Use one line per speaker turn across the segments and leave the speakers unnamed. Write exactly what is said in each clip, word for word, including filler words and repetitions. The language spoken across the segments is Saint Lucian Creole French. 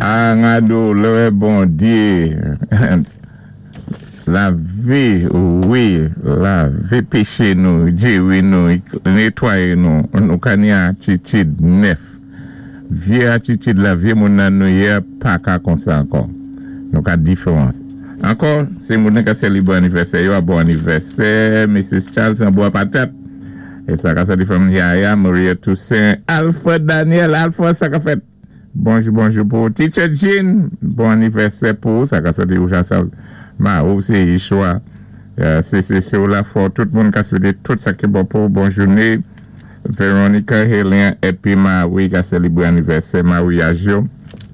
Ah, ngado, lè Bondyé, lavé, wi, lavé péché nou, jéwi nou, nétwayé nou, nou ka ni atitid nèf. Vyé atitid la, vyé moun nan nou yé, pa ka konsa ankò. Nou ka diféwans. Ankò, sé moun ka sélibré anivèsè yo, bon anivèsè, Missus Charles an Bwa Patat. É sa ka sa di fanmi Yaya, Maria Toussaint, Alfred Daniel, Alfred, sa ka fèt. Bonjou, bonjou pou Teacher Jean, bon anivèsè pou, sa ka sa di ou sa ma ou sé Yeshua. Sé sé sé ou la fò, tout moun ka swété tout sa ki bon pou, bon jouné. Veronica Helien épi Marie ka sélibré anivèsè maryaj yo.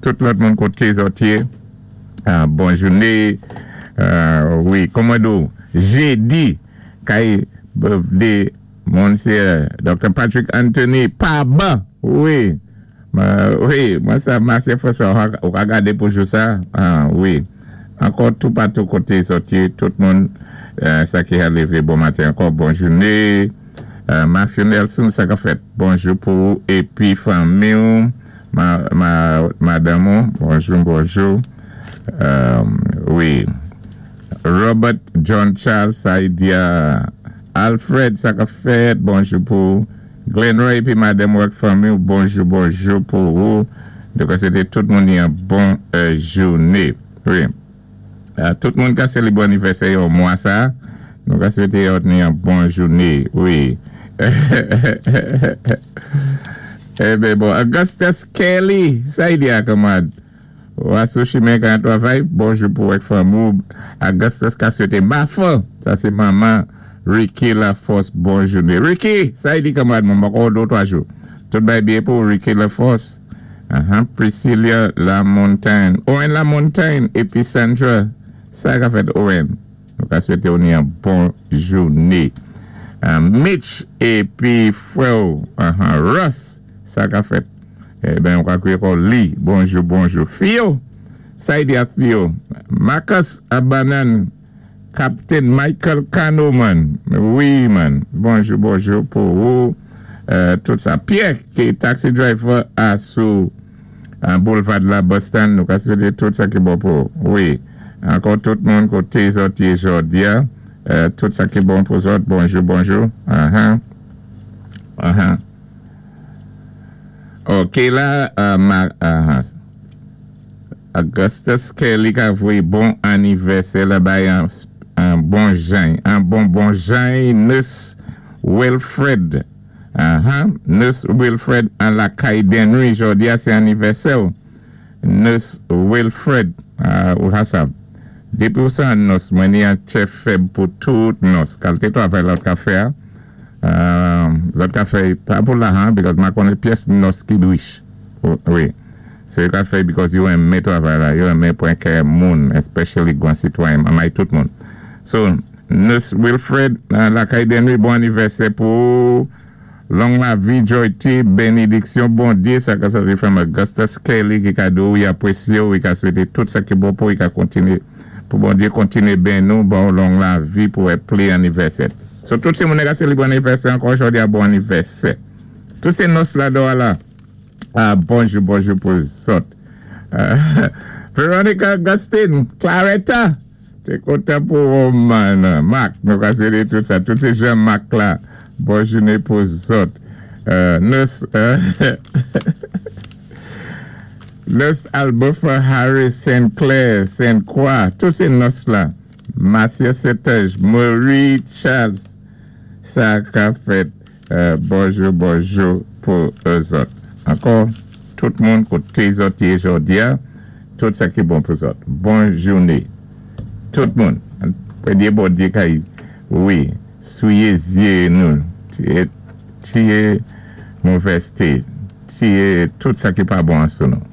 Tout lòt moun koté zòt yé. Bon jouné. Wi, kòman do? Jédi kay birthday Monsye Doctor Patrick Anthony Paba. Wi. Wi, mwen sa Marcia François ou ka gadé pou jou sa. Wi. Ankò tout patou koté zòt yé, tout moun sa ki a lévé bon maten ankò, bon jouné. Matthew Nelson, sa ka fèt. Bonjou pou épi fanmi ou, madanm ou, bonjou, bonjou. Wi. Robert John Charles Saidia Alfred, sa ka fèt, bonjou pou Glenroy épi madanm ou ak fanmi ou, bonjou, bonjou pou ou. Donk sé tout moun yon bon jouné. Wi. Tout moun ka sélibré anivèsè yo mwa sa. Nou ka swété yon bon jouné. Wi. Eh ben bon, Augustus Kelly, sa y di a kanmad? Ou sou chimen kan travay, bonjou pou ak fanmi ou. Augustus ka swété Mafa, sa sé manman Ricky Laforce, bon jouné. Ricky, sa y di kanmad moun, ankò dé twa jou. Tout bay byen pou Ricky Laforce. Uh-huh. Priscilla Lamontagne. Owen Lamontagne épi Sandra. Sa ka fèt, Owen. Nou ka swété ou yon bon jouné. Uh, Mitch épi frè uh-huh. Russ. Sa ka fèt. Eh ben, on ka kwé li. Bonjou, bonjou. Fio. Sa y di a Fio. Marcus Abanan. Captain Michael Cano, man. Wi, man. Bonjou, bonjou pou ou. Euh, tout sa. Pierre, ki taxi driver a sou boulevard la Boston. Nou ka swété tout sa ki bon pou. Wi. Ankò tout moun koté zòt yé jòdi a. Euh, tout sa ki bon pou zòt. Bonjou, bonjou. Uh-huh. Uh-huh. Ok, la, uh, ma, uh, Augustus Kelly ka voyé bon anivèsè la bay an, an bon jan, an bon bon jan, Nurse Wilfred. Uh-huh. Nurse Wilfred an lakay Denry, jòdi a sé anivèsè. Nurse Wilfred, uh, ou sa. Dépi ou sa nurse, mwen ni an tchè fèb pou tout nurse. Kalité twavay lòt ka fè, uh, zòt ka fè, pa pou lajan, because ma konnen pyès nurse ki rich. Wi. So yo ka fè because yo renmen twavay la, yo renmen pran kè moun, especially gwan sitwayen, mamay tout moun. So, Nurse Wilfred, lakay Denry, bon anivèsè pou long lavi, joyti, bénédiksyon, Bondyé, sa ka sa di frè Augustus Kelly ki ka do, yi apresye ou, yi ka swété tout sa ki bon pou, yi ka kontine, pou Bondyé kontine ben nou, bon long lavi pou e pli anivèsè. So, tout sé moun ka sélibré anivèsè, ankò jòdi a bon anivèsè. Tout sé nurse la do la. Ah, bonjou, bonjou pou zòt. Veronica Augustine, Claretta, té kontan pou ou man. Marc, nou ka swété tout sa. Tout sé Jean-Marc la. Bon jouné pou zòt. Nurse, Nurse Albofa Harris, Saint Clair, Saint Croix, tout sé nurse la. Marcia Setage, Marie Charles, sa ka fèt. Bonjou, bonjou pou zòt. Ankò, tout moun koté zòt yé jòdi a, tout sa ki bon pou zòt. Bon jouné. Tout moun. Pwédyé Bondyé kay, wi, souyé zyé nou, tiyé movèzté, tiyé tout sa ki pa bon sou nou.